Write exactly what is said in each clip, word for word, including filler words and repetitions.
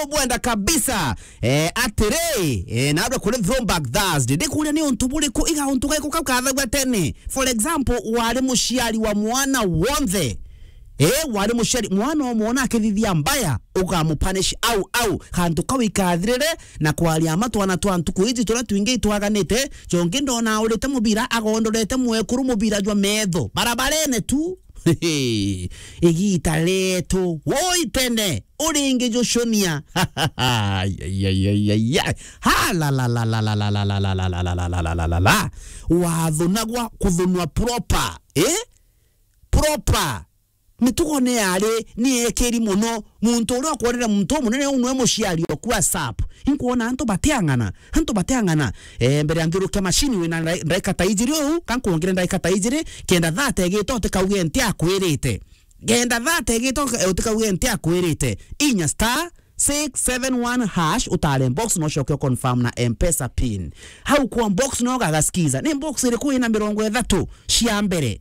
ubwenda kabisa. Eh, atiri, eh, nawe kuri Throwback Thursday. Ndikuria ni untu buriku, iga untu gaiku kau kathagua tene. For example, wari muciari wa mwana wonthe. Eh, wari muciari, mwana umwe ona akithithia mbaya, ukamupunish au au. Kantu kau ikathirire, na kwaria ma twana twa ntuku iji turia twingi itwaganite, jongi ndona aurite mubira, agondorete mwekuru mubira jwa metho. Barabarene tu. Igita rietu, woi tene, uringi jucunia. Ai, ai, ai, ai, ai, ai. Ha, la, la, la. Wathunagwa kuthunwa proper. Eh? Proper. Mitugo ni yari, ni ekiri mono. Muntu uria ukwonere muntu umunene uu nwe muciari oku asap. Inkwona antu bateang'ana, antu bateang'ana. Eh, mbere ya nthiurukia machine wina ndai-, ndaika ta ijiri uu, ka nkwongere ndaika ta ijiri, kenda thate igita utikauge nti akwirite. Kenda thate igita uti-, utikauge nti akwirite. Inya star six seven one hash, utare box, no ucoke u confirm na M-Pesa pin. Hau kwa box no gagaskiza. Ni box iriku ina mirongo ithatu cia mbere?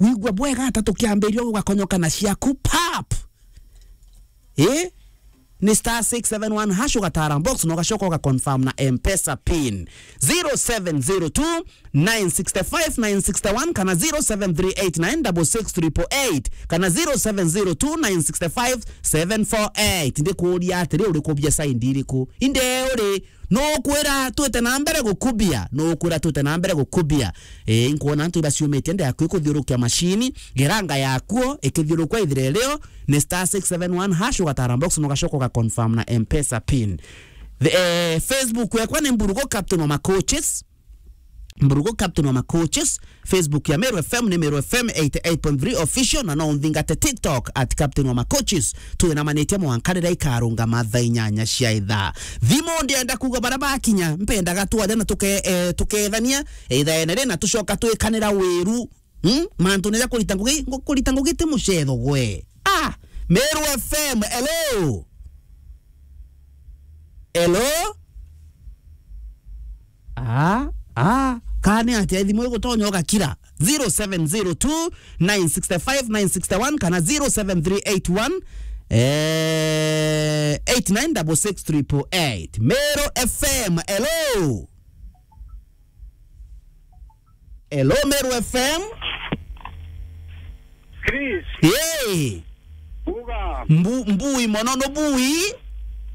Wigua bwega ata tukiambiria ugakonyoka na ciaku pap. Eh? Ni star six seven one hash, ugatara box, na ugacoka uga confirm na M-Pesa pin. Zero seven zero two nine six five nine six one kana zero seven three eight nine double six triple eight kana zero seven zero two nine six five seven four eight. Ndikuria atiri, uri kubia side iriku? Inde uri, nukwira twite na mbere gukubia, nukwira twite na mbere gukubia. Eh, inkwona antu ibaciumitie nde yaku ikuthiurukia machine, geranga yakuo ikithiurukua ithire rio, ni star six seven one hash, ugatara box, na ugacoka uga confirm na M-Pesa pin. The, eh, Facebook yakwa ni Mburugo Captain wa Macoaches. Mburugo Captain wa Macoaches. Facebook ya Meru F M ni Meru F M eighty eight point three Official, na no unthingate TikTok at Captain wa Macoaches. Twinamanitie mwanka riria ikarungama thaa inyanya cia ithaa. Thimu ndienda kuuga baria bakinya, mpendaga twaria na tuke-, eh, tukethania, eh, ithaene ri na tucoka twikanira wiru. Hmm? Mantu ni ja kurita ngugi, ngu-, kurita ngugi ti mucetho gwe. Ah, Meru F M, hello? Hello? Ah, ah, kani atia thimu igutonya ugakira? Zero seven zero two nine six five nine six one kana zero seven three eight one, eh, eight nine double six triple eight. Meru F M, hello? Hello, Meru F M. Chris. Yee. Uga. Mbu-, mbui mono no bui.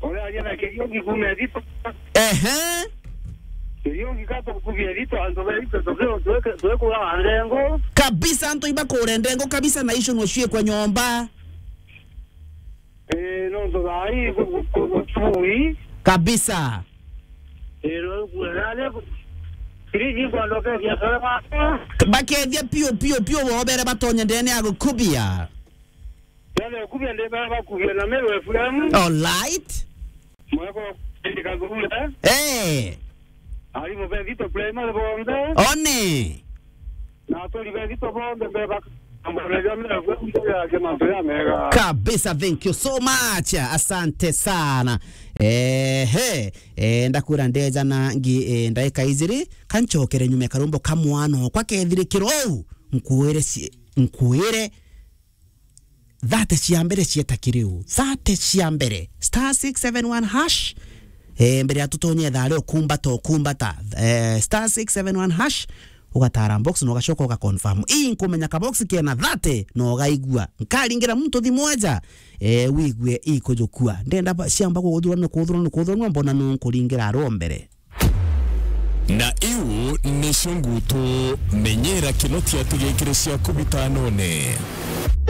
Ore aria na Kiriungi kume thito. Ehe. Kiriungi kato kubie thito, antu be thito, tuke-, tuke-, tuke kura ndengo. Kabisa, antu iba kure ndengo kabisa, na icio no ciekwa nyomba. Eh, nontu thaa ii ku-, ku-, ku-, kubui. Kabisa. Eh, no kuona ne ku-, kiriji kwando ke biashara ma. Bakethia piu, piu, piu, bobere batonye ndene ya gukubia. Yale kubia nde ba, bakubia na Meru F M. All right. Mweko, ndi kagurule. Eh. Arimu be thito primary bonthe. One. Na aturi be thito bonthe be bak-, amboreria mira kwe mboya ke mantu ya mega. Kabisa, thank you so much. Asante sana. Ehe, eh, ndakwira ndeja na ngi, eh, ndaika ijiri, kanchokere nyume karumbo ka mwana okwa kethirikiro ou. Nkuire si-, nkuire thate cia mbere cieta kiriu. Thate cia mbere. Star six seven one hash. Eh, mbere ya tutonye thaa rio kumbata, kumbata. Eh, star six seven one hash. Ugatara box na ugacoka uga confirm. Ii nkumenya ka box kena thate na ugaigua. Nkaringira muntu thimu eja. Eh, wigue ikujukua. Ndenda ba-, ciamba kuguthurana, kuguthurana, kuguthurana, mbona nu nkuringira aro mbere. Na iu nicio ngutu, menyera kinotia tigikire ciaku bitanone.